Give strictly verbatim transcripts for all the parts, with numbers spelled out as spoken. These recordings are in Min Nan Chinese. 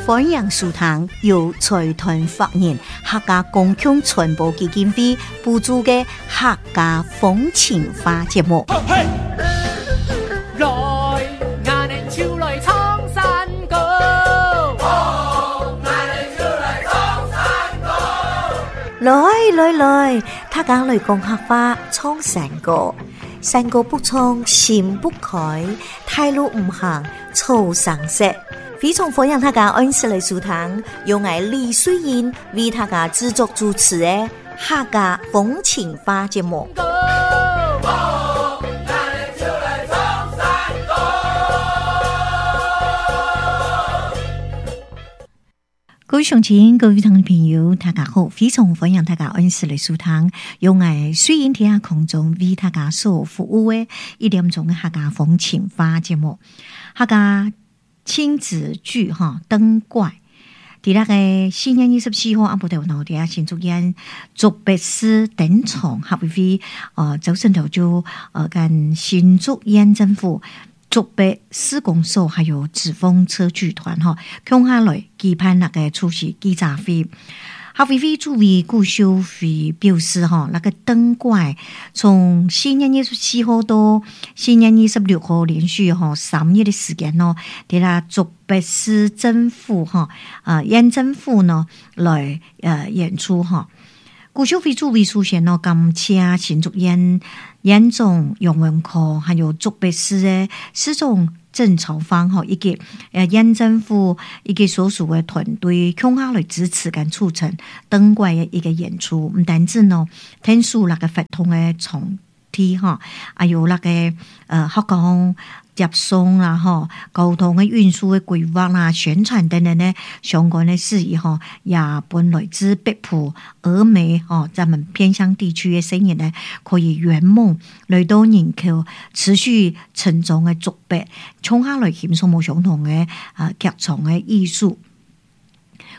歡迎收聽由財團法人客家公共傳播基金會補助的客家風情話節目。來，𠊎等手來唱山歌。來來來，大家來講客話，唱山歌。山歌不唱心不開，大路毋行草生雪。非常歡迎大家按時來收聽，由𠊎李穗英為大家製作主持的客家風情話節目。各位鄉親，各位聽眾朋友，大家好！非常歡迎大家按時來收聽，由𠊎穗英佇空中為大家所服務的一點鐘的客家風情話節目。客家親子劇哈燈怪，佇那个四月二十四號，暗晡頭喏佇新竹縣竹北市登場，合肥呃早晨頭就呃佮新竹縣政府、竹北市公所還有紙風車劇團吼，共下來舉辦那个出席記者會。合委會主委顧秀輝表示吼，那个燈怪從四月二十四號到四月二十六號連續吼三日的時間咯，佇啦竹北市政府吼啊縣政府呢來呃演出吼。顧秀輝主委首先咯，感謝新竹縣縣長楊文科，還有竹北市的市長鄭朝方吼，以及呃縣政府以及所屬的團隊，共下來支持佮促成燈怪的一個演出。毋單止喏，天數那个活動的場地吼，還有那个呃學校接送啦吼，交通的運輸的規劃啦、宣傳等等的相關的事宜吼，也本來自北埔、峨眉吼，咱們偏鄉地區的生意呢，可以圓夢來到人口持續成長的竹北，衝下來欣賞無相同的啊劇場的藝術。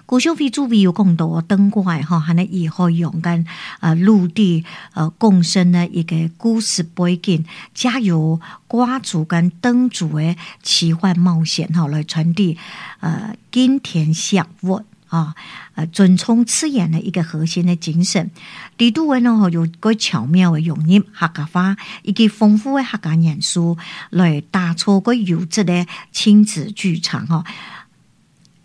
顧秀輝主委有講到燈怪吼，還能以海洋佮呃陸地呃共生的一個故事背景，加由掛燭佮燈組的奇幻冒險吼，來傳遞呃敬天惜物啊，呃尊崇自然的一個核心的精神。地圖文呢有個巧妙的融入客家話以及豐富的客家元素，來打造個優質的親子劇場吼。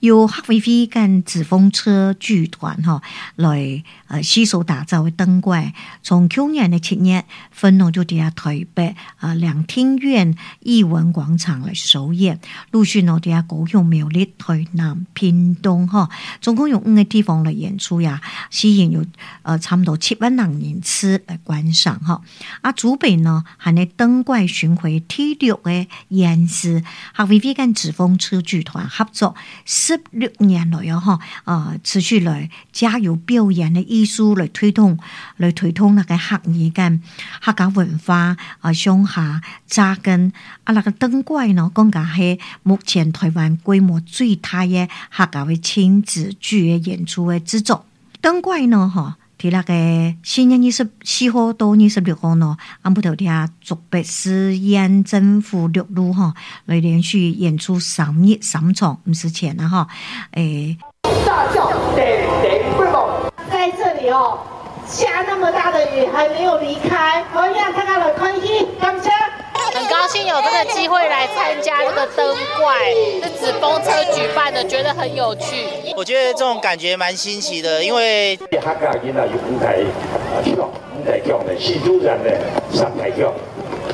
由合委會佮紙風車劇團吼來呃攜手打造的燈怪，從去年的七月分喏就佇台北啊兩廳院藝文廣場來首演，陸續喏佇高雄、苗栗、台南、屏東吼，總共有五個地方來演出呀，吸引有呃差不多七萬人人次來觀賞吼。啊，竹北呢還咧燈怪巡迴第六个縣市，合委會佮紙風車劇團合作十六年來哦，吼，啊，持續來加油表演的藝術來推動，來推動那个客語佮客家文化啊向下紮根啊，那个燈怪呢，講甲係目前台灣規模最大的客家的親子劇的演出的製作。燈怪呢，吼，佇那个四月二十四號到二十六號呢，暗晡頭佇竹北市縣政府六路吼，來連續演出三日三場，毋是錢啦吼，欸，大叫點點不夢，在這裡哦，下那麼大的雨還沒有離開，我讓大家來歡喜，感謝。很高興有這個機會來參加這個燈怪，是紙風車舉辦的，覺得很有趣。我覺得這種感覺蠻新奇的，因為客家囡仔有五台獎、五台獎的，四主人的三台獎，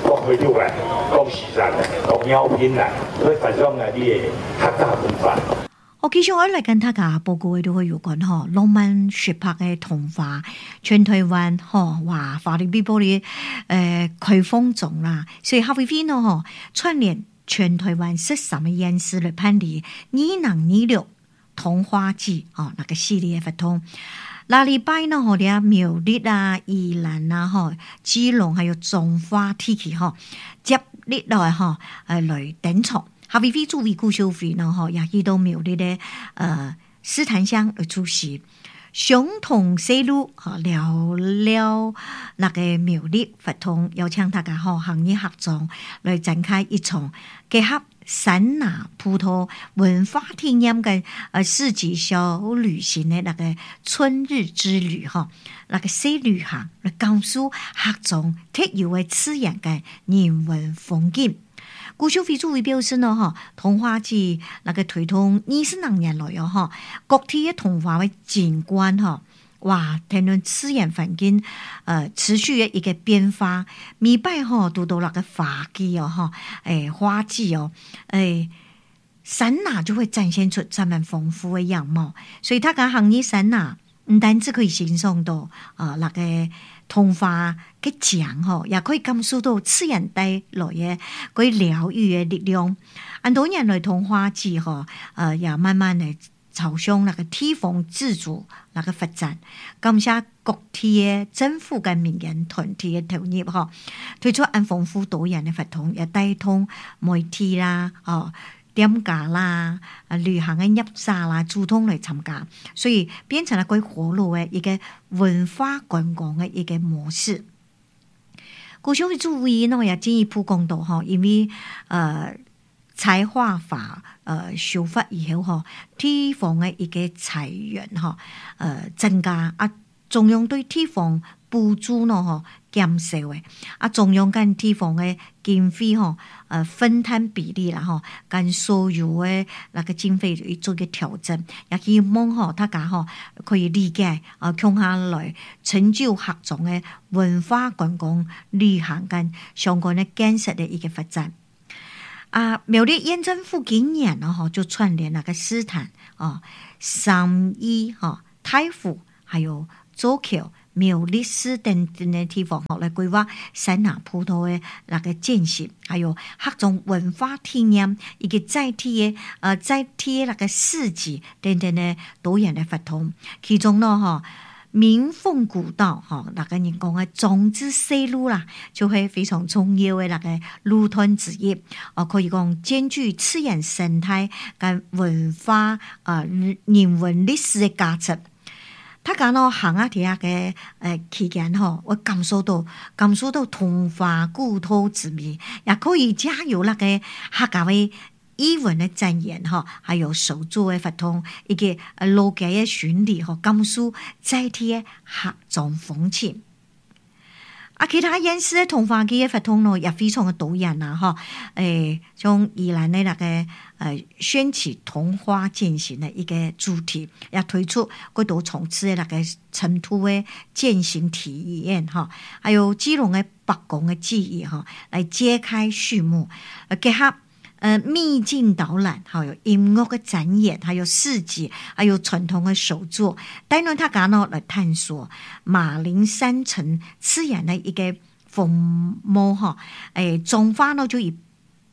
講會長來，講時辰來，講鳥品來，所以發展來你的客家文化。我繼續我來跟大家報告的都會有關吼，浪漫雪珀的童話，全台灣吼哇，華麗碧波的呃開放中啦，所以合委會呢吼串聯全台灣十三个縣市來辦理二零二六童話季哦，那個系列活動。那禮拜呢吼，佇苗栗啊、宜蘭啊、吼、基隆還有彰化地區吼，接力來吼呃來登場。合委會主委顧秀輝呢，吼也去到苗栗的呃獅潭鄉來出席，相同西路吼聊聊那个苗栗活動，邀請大家吼行業合作來展開一場結合山那葡萄文化體驗跟呃四季小旅行的那個春日之旅哈，那個小旅行來感受客莊特有的自然跟人文風景。辜秀妃主委表示呢，哈，桐花季那個推動二十多年來哦，哈，各地的桐花的景觀哈，哇，談論自然環境呃持續的一個變化，每擺吼拄著那個花季哦，哈，欸花季哦，欸山那就會展現出這麼豐富的樣貌，所以大家行入山那毋單止可以欣賞到啊那個桐花个景吼，也可以感受到自然帶來的個療癒的力量。很多年來桐花季吼，呃，也慢慢的朝向那個地方自主那個發展，感謝各地的政府跟民間團體的投入吼，推出按豐富多元的活動，也帶動媒體啦，哦。店家啦，啊，旅行的業者啦，主動來參加，所以變成了個活絡的一個文化觀光的一個模式。辜秀妃主委呢也進一步講到吼，因為呃，財劃法呃修法以後吼，地方的一個財源吼，呃增加啊，中央對地方補助呢吼減少的，啊，中央跟地方的經費吼，呃分攤比例啦吼，跟所有的那個經費做一個調整，也希望吼大家吼可以理解啊，共下來成就客莊的文化觀光旅行跟相關的建設的一個發展。啊，苗栗縣政府今年呢吼就串聯那個獅潭啊、三義哈、大湖，還有左坵、苗栗市等等的地方吼，來規劃山那葡萄的那個建設，還有客莊文化體驗以及在地的呃在地的那個市集等等的多元的活動，其中呢吼，鳴鳳古道吼，那個人講的莊子西路啦，就會非常重要的那個路段之一。哦，可以講兼具自然生態跟文化啊人文歷史的價值。大家喏行啊，佇遐个呃期間吼，我感受到感受到桐花古道之美，也可以加入那個客家話藝文的展演吼，還有手作的活動，以及呃老街的巡禮吼，感受在地的客莊風情。啊，其他縣市的桐花季的活動喏，也非常的多元啦，吼，欸，像宜蘭的那個呃，選取桐花健行的一個主題，也推出幾多層次的那個塵土的健行體驗，吼，還有基隆的木工的技藝，吼，來揭開序幕，呃，結合呃秘境導覽，還有音樂的展演，還有市集，還有傳統的手作，帶領大家呢來探索馬鈴山城自然的一個風貌哈。欸，彰化呢就以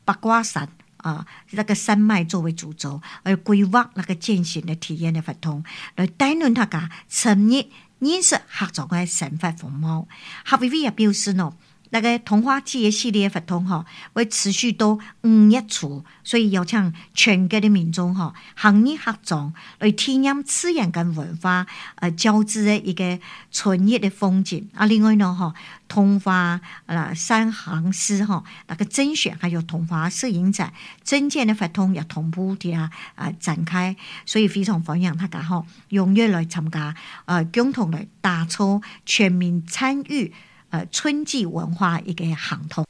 八卦山啊那個山脈作為主軸，而規劃那個健行的體驗的活動，來帶領大家深入認識客莊的生活風貌。郝薇薇也表示呢，那個桐花季的系列活動吼，會持續到五月初，所以邀請全國的民眾吼，行入客莊來體驗自然跟文化呃交織的一個春日的風景。啊，另外呢吼，桐花啊三行詩吼，那個甄選還有桐花攝影展、徵件的活動也同步的啊啊展開，所以非常歡迎大家吼踴躍來參加，呃，共同來打造全民參與。呃，春季文化一個行動。